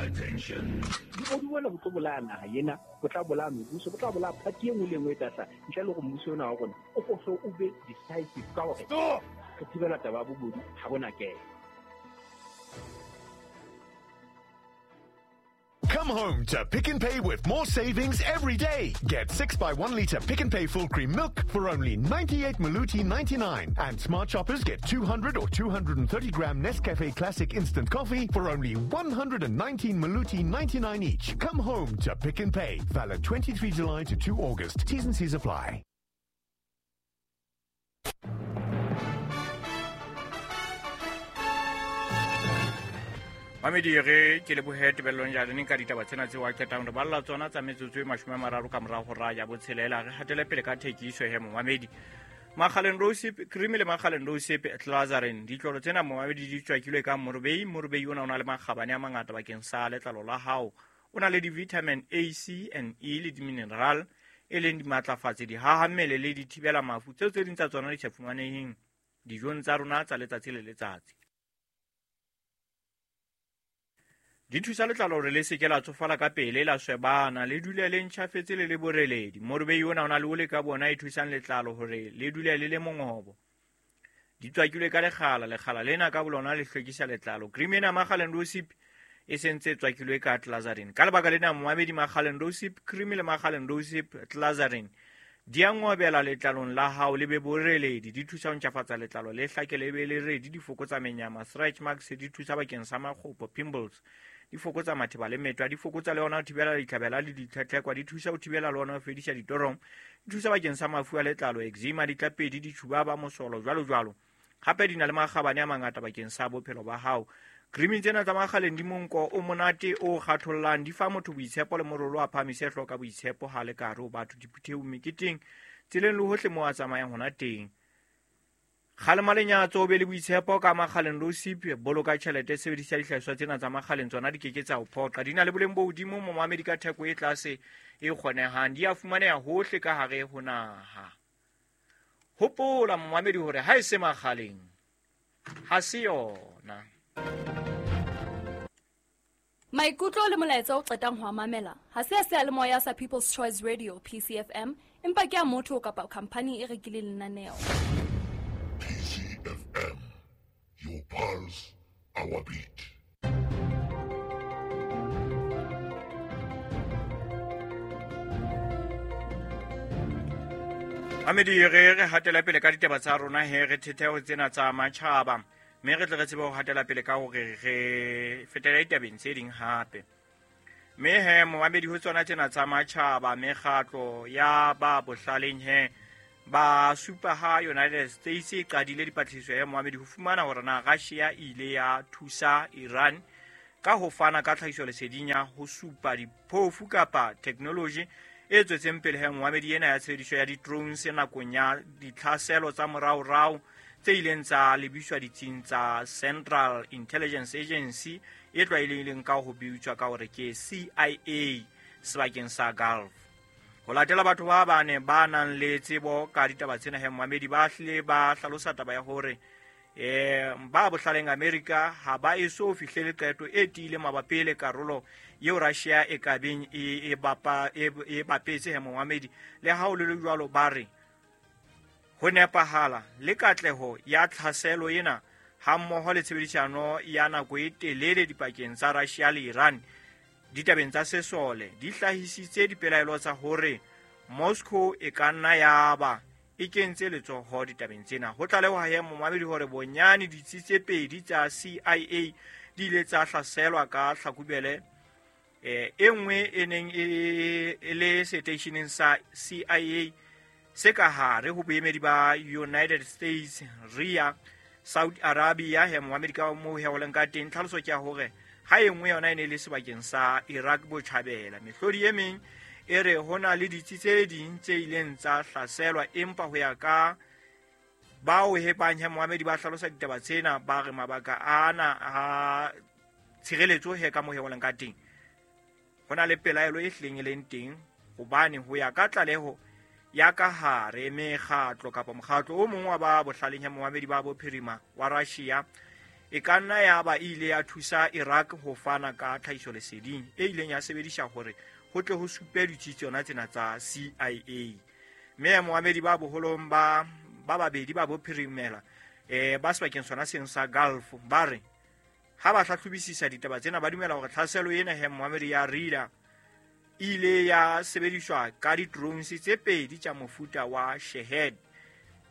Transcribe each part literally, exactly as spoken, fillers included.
Attention. Bobodu bona bo tlo bolaya naha ena, bo tla bolaya mebuso, bo tla bolaya party e nngwe le e nngwe e tla hlaha. Ntle le hore mmuso ona wa rona o ko o be decisive ka hore re thibela taba ya bobodu ha bona kelo. Come home to Pick n Pay with more savings every day. Get six by one litre Pick n Pay full cream milk for only ninety-eight Maluti ninety-nine. And smart shoppers get two hundred or two hundred thirty gram Nescafe Classic Instant Coffee for only one hundred nineteen Maluti ninety-nine each. Come home to Pick n Pay. Valid twenty-three July to two August. T's and C's apply. Mamedi re ke lebohe tebellong ya leng ka ditaba tsena tseo a qetang re balla tsona tsa metsotso e mashome a mararo ka morao ho ra ya botshelela. Re hatele pele ka thekiso he momamedi. Makgaleng Rosip cream le Makgaleng Rosip Clazarin ditlolo tsena momamedi di tswakilwe ka morobei. Morobei ona o na le makgabane a mangata bakeng sa letlalo la hao. O na le di-vitamin A, C and E le di-mineral e leng dimatlafatsi, dihaha mmele le dithibela mafu tseo tse ding tsa tsona di sa fumaneheng dijong tsa rona tsa letsatsi le letsatsi. Di thusa letlalo hore le se ke la tsofala ka pele, la swebana, le dule le ntjhafetse le le boreledi. Morobei ona o na le ole ka bona e thusang letlalo hore le dule le le mongobo. Di tswakilwe ka lekgala, lekgala lena ka bolona le hlwekisa letlalo. Cream ena Makgaleng Rosip e sentse e tswakilwe ka Clazarin. Ka lebaka lena momamedi, Makgaleng Rosip cream le Makgaleng Rosip Clazarin di a ngobela letlalong la hao le be boreledi. Di thusa ho ntjhafatsa letlalo le hlake le be le redi, di fokotsa menyama, stretch marks, di thusa bakeng sa makgopo, pimples, di fokotsa matheba le metwa, di fokotsa le ona ho thibela ditlhabela le ditlhetlhekwa, di thusa ho thibela le ona ho fedisa ditorong, di thusa bakeng sa mafu a letlalo, eczema, ditlapedi, ditjhubaba, mosolo, jwalo jwalo. Hape di na le makgabane a mangata bakeng sa bophelo ba hao. Cream tsena tsa Makgaleng di monko o monate o kgathollang, di fa motho boitshepo le morolo a phamise hloka boitshepo ha le ka hare ho batho diphuthehong, meketeng, tseleng le hohle moo a tsamayang hona teng. Kgalema lenyatso, o be le boitshepo ka Makgaleng Rosip. Boloka tjhelete, sebedisa dihlahiswa tsena tsa Makgaleng, tsona di keke tsa o phoqa. Di na le boleng bo hodimo momamedi ka theko e tlase e kgonehang. Di a fumaneha hohle ka hare ho naha. Hopola momamedi hore ha e se Makgaleng ha se yona. Maikutlo le molaetsa o qetang ho mamela ha se a seyalemoya sa People's Choice Radio P C F M, empa ke a motho kapa khampani e rekileng lenaneo. P C F M, your pulse, our beat. Mamedi re re hatela pele ka ditaba tsa rona he re thetheho tsena tsa matjhaba, mme re tle re tsebe ho hatela pele ka hore re fetela ditabeng tse ding hape. Mme he momamedi ho tsona tsena tsa matjhaba, mekgatlo ya ba bohlaleng he ba supa ha United States e qadile dipatlisiso ya momamedi ho fumana hore na Russia e ile ya thusa Iran ka ho fana ka tlhahisoleseding ya ho supa diphofu kapa technology e tswetseng pele he momamedi ena ya tshebediso ya di-drones nakong ya ditlhaselo tsa moraorao tse ileng tsa lebiswa ditsing tsa Central Intelligence Agency e tlwaelehileng ka ho bitswa ka hore ke C I A sebakeng sa Gulf. Ho latela batho ba bane ba nang le tsebo ka ditaba tsena he momamedi, ba hlile ba hlalosa taba ya hore eh ba bohlaleng America ha ba eso fihlele qeto e tiile mabapi le karolo eo Russia e ka beng e e bapa e bapetse he momamedi. Le ha ho le jwalo ba re ho nepahala le katleho ya tlhaselo ena hammoho le tshebedisano ya nako e telele dipakeng tsa Russia le Iran ditabeng tsa sesole di hlahisitse dipelaelo tsa hore Moscow e ka nna ya ba e kentse letsoho ditabeng tsena. Ho tlalewa he momamedi hore bonyane ditsi tse pedi tsa C I A di ile tsa hlaselwa ka Hlakubele, eh e nngwe e neng e le seteisheneng sa C I A se ka hare ho boemedi ba United States Riyadh, Saudi Arabia he momamedi ka moo he ho leng ka teng. Tlhaloso ke ya hore ha e nngwe yona e ne e le sebakeng sa Iraq botjhabela. Mehlodi e meng e re ho na le ditsi tse ding tse ileng tsa hlaselwa, empa ho ya ka bao he bang he momamedi ba hlalosa ditaba tsena ba re mabaka ana a tshireletso he ka moo he ho leng ka teng ho na le pelaelo e hlileng e leng teng, hobane ho ya ka tlaleho ya ka hare mekgatlo kapa mokgatlo o mong wa ba bohlaleng ya momamedi ba bophirima wa Russia e ka nna ya ba e ile ya thusa Iraq ho fana ka tlhahisoleseding e ileng ya sebediswa hore ho tle ho supe ditsi tsona tsena tsa C I A. Mme moamedi ba boholong ba ba babedi ba bophirimela eh ba sebakeng sona seng sa Gulf ba re ha ba hlahlobisisa ditaba tsena ba dumela hore tlhaselo ena he moamedi ya Rida ile ya sebediswa ka di-drones tse pedi tsa mofuta wa Shahed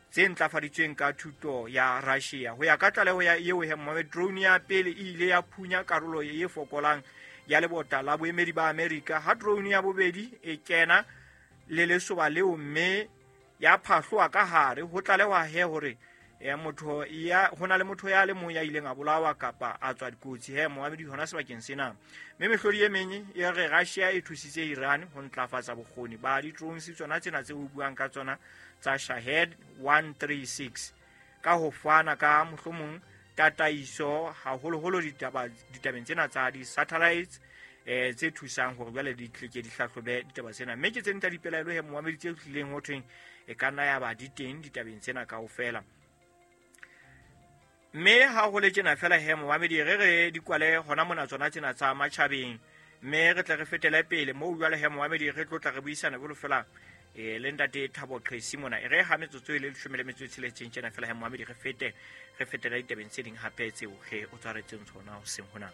tse ntlafaditsweng ka thuto ya Russia. Ho ya ka tlaleho ya eo he moamedi, drone ya pele e ile ya phunya karolo e fokolang ya lebota la boemedi ba Amerika, ha drone ya bobedi e kena le lesoba leo mme ya phahloa ka hare. Ho tlalehwa he hore ya motho ya hona le motho ya le mong ya ileng a bolawa kapa a tswa dikotsi he moamedi hona sebakeng sena. Mme mehlodi e meng e re Russia e thusitse Iran ho ntlafatsa bokgoni ba di-drones tsona tsena tse ho buang ka tsona tsa Shahed one three six ka ho fana ka mohlomong tataiso haholoholo ditaba ditabeng tsena tsa di-satellites eh tse thusang hore jwale di tleke di hlahlobe ditaba tsena. Mme ke tse ding tsa dipelaelo he moamedi tse tlileng ho thweng e ka nna ya ba di teng ditabeng tsena kaofela. Mme ha ho le tjena fela he moamedi re re di kwale hona mona tsona tsena tsa matjhabeng, mme re tle re fetele pele moo jwale he moamedi re tlo tla re buisana jwalo fela eh le ntate Thabo Qesi mona. E re ha metsotso e le leshome le metso e tsheletseng tjena fela he moamedi re fete re fetele ditabeng tse ding hape tseo re o tshwaretseng tsona hoseng hona.